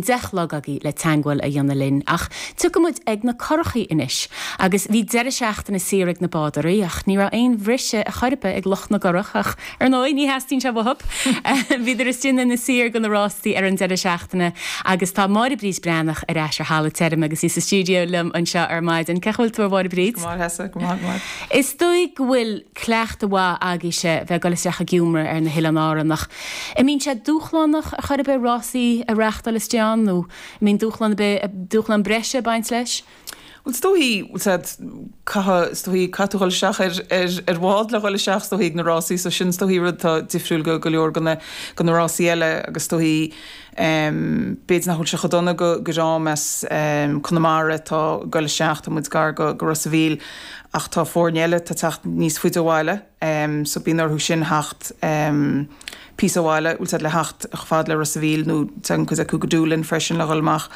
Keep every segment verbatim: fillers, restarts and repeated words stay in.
deich chlog agaibh le teagmháil a dhéanamh linn ach tiocfaidh muid ag na curachaí anois agus bhí deireadh seachtaine saor ag na bádóirí ach ní raibh aon bhriseadh ar chor ar bith ag lucht na gcurach ach ar ndóigh ní theastaíonn sé uathu. Bhíodar istigh ina saor go na rástaí ar an deireadh seachtaine agus tá Máire Bríd Breathnach ar ais ar thalamh tirim agus í sa stiúideo liom anseo ar maidin. Cén chaoi a bhfuil tú a Mháire Bríd? Is dóigh go bhfuil cleachtadh mhaith agaibhse bheith ag dul isteach ag iomramh ar na hOileáin Árann ach an mbíonn sé dúshlánach ar chor ar bith rásaí a reáchtáil istigh ann nó an mbíonn dúshlán dúshlán breise ag baint leis? Well is dóichí caithfidh is dóichí caithfidh tú dhul isteach ar ar ar bhád le dhul isteach is dóichí ag na rásaí so sin is dóichí rud atá difriúil go go leor go na go na rásaí eile agus is dóichí b'fhéidir nach bhfuil sé chomh dona go go dream as Conamara atá ag dul isteach tá muid gar go go Ros a' Mhíl ach tá foirne eile atá ag teacht níos faide ó bhaile so bíonn orthu sin theacht píosa ó bhaile, bhfuil siad le theacht chomh fada le Ros a' Mhíl nó tagann cuid acu go Doolin freisin le dhul amach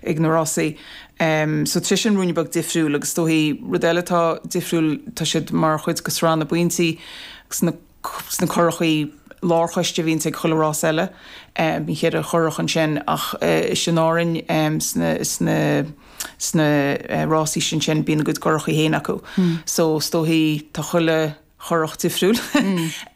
ag na rásaí. So tá sé sin ruainne beag difriúil agus is dóichí rud eile atá difriúil tá siad mar chuid de sraith na bpointí sna sna curachaí lárchoiste a bhíonns ag chuile rás eile. Bíonn ceithre churach ansin ach istigh in Árainn sna sna sna rásaí sin sin bíonn a gcuid curachaí féin acu. So is dóichí tá chuile churach difriúil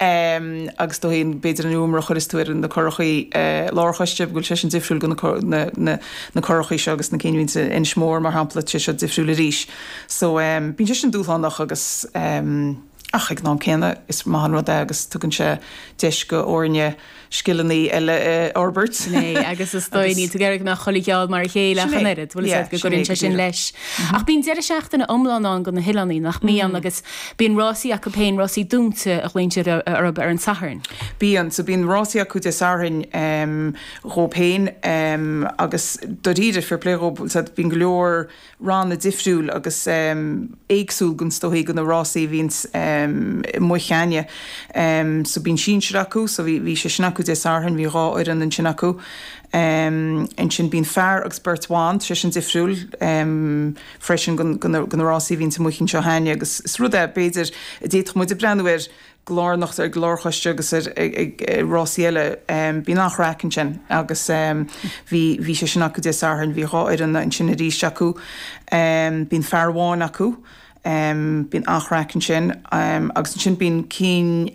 agus is dóichí b'fhéidir an iomramh a chuireas tú ar na curachaí lárchoiste go bhfuil sé sin difriúil go na na na curachaí seo agus na cinn a bhíonns in Inis Mór mar shampla tá sé seo difriúil arís. So bíonn sé sin dúshlánach agus ach ag an am céanna is maith an rud é agus tugann sé deis go fhoirne scileanna eile a fhorbairt. Sin é, agus is dóigh níl tú ag iarraidh go mbeadh chuile gheall mar a chéile ach an oiread, bhfuil a fhios agat go gcuireann sé sin leis. Ach bíonn deireadh seachtaine iomlán ann go na hoileáin, nach mbíonn, agus bíonn rásaí acu féin, rásaí dúnta a ghlaonn siad orthu ar an Satharn. Bíonn, so bíonn rásaí acu Dé Sathairn dhóib féin agus dáiríre, fair play dhóib, bhfuil a fhios agat, bíonn go leor ranna difriúil agus éagsúil go is dóichí go na rásaí a bhíonns amuigh cheana. So bíonn sinsir acu, so bhí bhí sé sin acu Dé Sathairn, bhí dhá fhoireann ansin acu. Ansin bíonn fear agus beirt bhan, tá sé sin difriúil freisin go go na go na rásaí a bhíonns amuigh anseo cheana agus is rud é b'fhéidir a d'fhéadfadh muid a breathnú air go lárnach ar lárchoiste agus ar rásaí eile. Bíonn an-chraic ansin agus bhí bhí sé sin acu Dé Sathairn, bhí dhá fhoireann ansin arís acu. Bíonn fear amháin acu, bíonn an-chraic ansin agus ansin bíonn cinn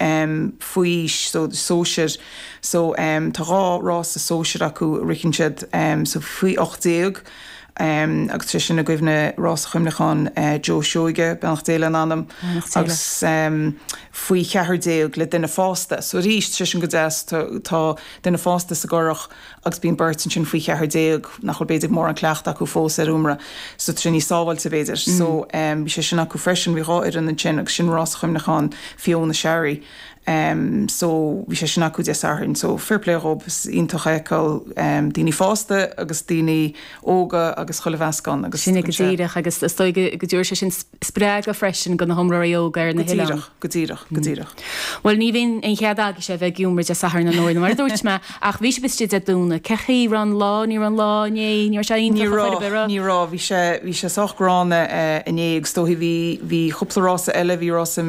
faoi aois so sóisir so tá dhá rása sóisir acu a ritheann siad so faoi ocht déag. Agus tá sé sin i gcuimhne Rása Chuimhneacháin Joe Seoige, beannacht Dé lena anam, agus faoi cheathair déag le duine fásta. So arís, tá sé sin go deas, tá duine fásta sa gcurach agus bíonn beirt ansin faoi cheathair déag nach bhfuil b'fhéidir mórán cleachtadh acu fós ar iomramh. So tá sé níos sábháilte b'fhéidir. So bhí sé sin acu freisin, bhí dhá fhoireann ansin agus sin Rása Chuimhneacháin Fiona Sharry. So bhí sé sin acu Dé Sathairn. So fair play dhób, is iontach a fheiceáil daoine fásta agus daoine óga agus chuile mheascán agus Sin é go díreach agus is dóigh go dtabharfaidh sé sin spreagadh freisin do na hiomróirí óga ar na hoileáin. Go díreach, go díreach, go díreach. Bhuel ní bhíonn aon chead agaibhse a bheith ag iomramh Dé Sathairn ar ndóigh, mar a dúirt mé, ach bhí sibh istigh Dé Domhnaigh. Cén chaoi raibh an lá, ní raibh an lá inné, ní raibh sé Ní iontach ar chor ar bith, raibh, raibh? ní raibh, bhí sé, bhí sé sách gránna inné agus is dóichí bhí, bhí cúpla rása eile, bhí rása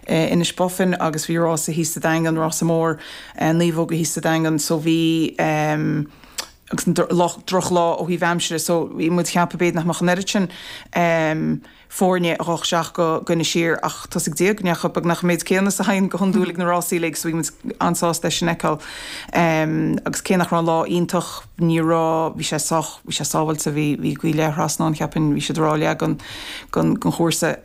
Inis Bofin agus bhí rása thíos sa Daingean, rása mór naomhóga thíos sa Daingean so bhí agus an drochlá ó thaobh aimsire so bhí muid ag ceapadh b'fhéidir nach mbeadh an oiread sin foirne ag dhul isteach go go Inis Oírr ach tá a fhios ag Dia go ndeachaigh beagnach an méid céanna is a théann go hiondúil ag na rásaí uilig so bhí muid an-sásta é sin a fheiceáil agus cé nach raibh an lá iontach ní raibh bhí sé sách bhí sé sábháilte bhí bhí gaoth leath thrasna ann cheapfainn bhí siad ag rá leath den den chúrsa.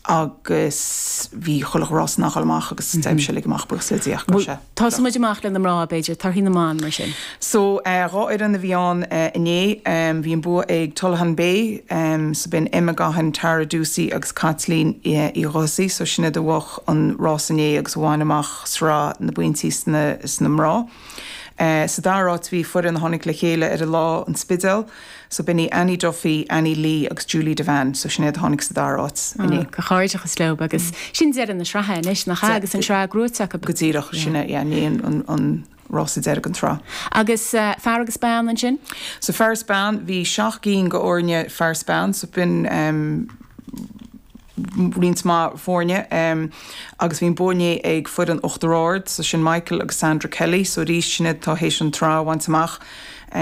Agus bhí chuile rás in ann a dhul amach agus d'oibrigh sé uilig amach, buíochas le Dia ach go raibh sé. Tosóidh muid amach le na mná, b'fhéidir, torthaí na mban mar sin. So, dhá fhoireann a bhí ann inné. Bhí an bua ag Tullahan Bay, so b'in Emma Gaughan, Tara Ducey agus Caitlín Uí Dhubhthaigh. So sin iad a bhuaigh an rás inné agus a bhain amach sraith na bpointí sna sna mná. Sa dara háit bhí foireann a tháinig le chéile ar an lá, An Spidéal. So b'in í Annie Duffy, Annie Lee agus Julie Devane. So sin iad a tháinig sa dara háit inné. Comhghairdeachas leo agus sin deireadh na sraithe anois, nach ea? Agus an tsraith gnóthaithe acu. Go díreach, sin é, yeah, inné an, an rása deiridh den tsraith. Agus fear agus bean ansin? So fear is bean, bhí seacht gcinn de fhoirne fear is bean, so b'in em roinnt mhaith foirne em agus bhí an bua inné ag foireann Uachtar Ard, so sin Michael agus Sandra Kelly, so arís sin iad atá théis an tsraith a bhaint amach.